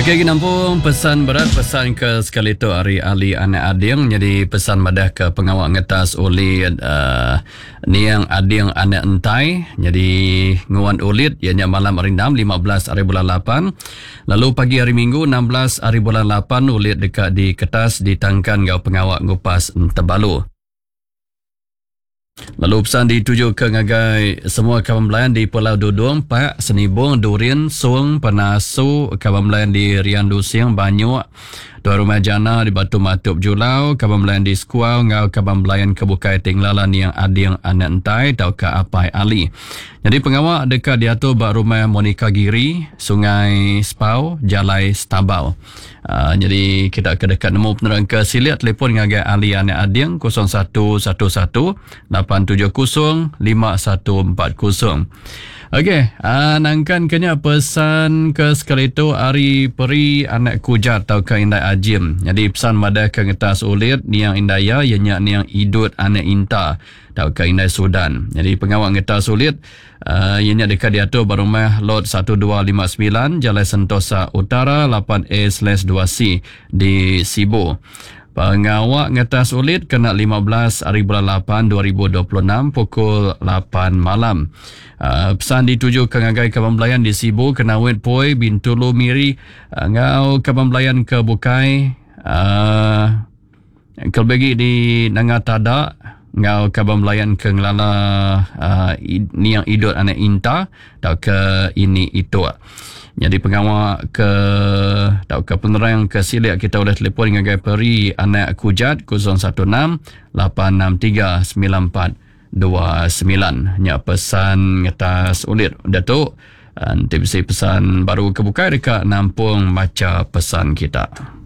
Okey agi nampung pesan berat pesan ke sekali tu ari Ali anak Ading nyadi pesan madah ke pengawa ngetas ulit uh, niang Ading anak Entai nyadi nguan ulit iya nya malam hari 6 15 hari bulan 8 lalu pagi hari Minggu 16 hari bulan 8 ulit deka diketas ditangkan enggau pengawa ngupas entebalu. Lalu pesan ditujuka ngagai semua kaban belayan di Pulau Dudung, Pak, Senibong, Durin, Song, Penasu, kaban belayan di Rian Lusing, Banyuk, Tuai Rumah Jana di Batu Matup Julau, kaban belayan di Sekuau enggau kaban belayan ke bukai ti ngelala niang Ading Anak Entai tauka Apai Ali. Nyadi pengawa deka diatur ba Rumah Monica Giri, Sungai Spau, Jalai Stabau. Uh, nyadi kita ke deka nemu penerang ke silik telefon ngagai Ali Anak Ading 0111 870 5140. Okey, uh, nangkan ke nya pesan ke sekali tu ari peri anak kujat tauka indai ajim. Jadi pesan madah ke ngetas ulit niang indai iya iya nya niang idut anak inta tauka indai sudan. Jadi pengawa ngetas ulit Iya nya deka diatur ba rumah Lot 1259, Jalai Sentosa Utara 8A/2C di Sibu. Pengawa ngetas ulit kena 15 ari bulan 8 2026 pukul 8 malam. Pesan ditujuka ngagai kaban belayan di Sibu, Kenawit, Poi, Bintulu, Miri enggau kaban belayan ke bukai. Kelebih agi di Nanga Tada enggau kaban belayan ke ngelala uh, niang idut anak inta tauka ini ituk. Nyadi pengawa ke tauka penerang ke silik kita ulih telefon ngagai Peri Anak Kujat 016 863 9429. Nya pesan ngetas ulit. Udah tu enti bisi pesan baru ke bukai deka nampung macha pesan kita.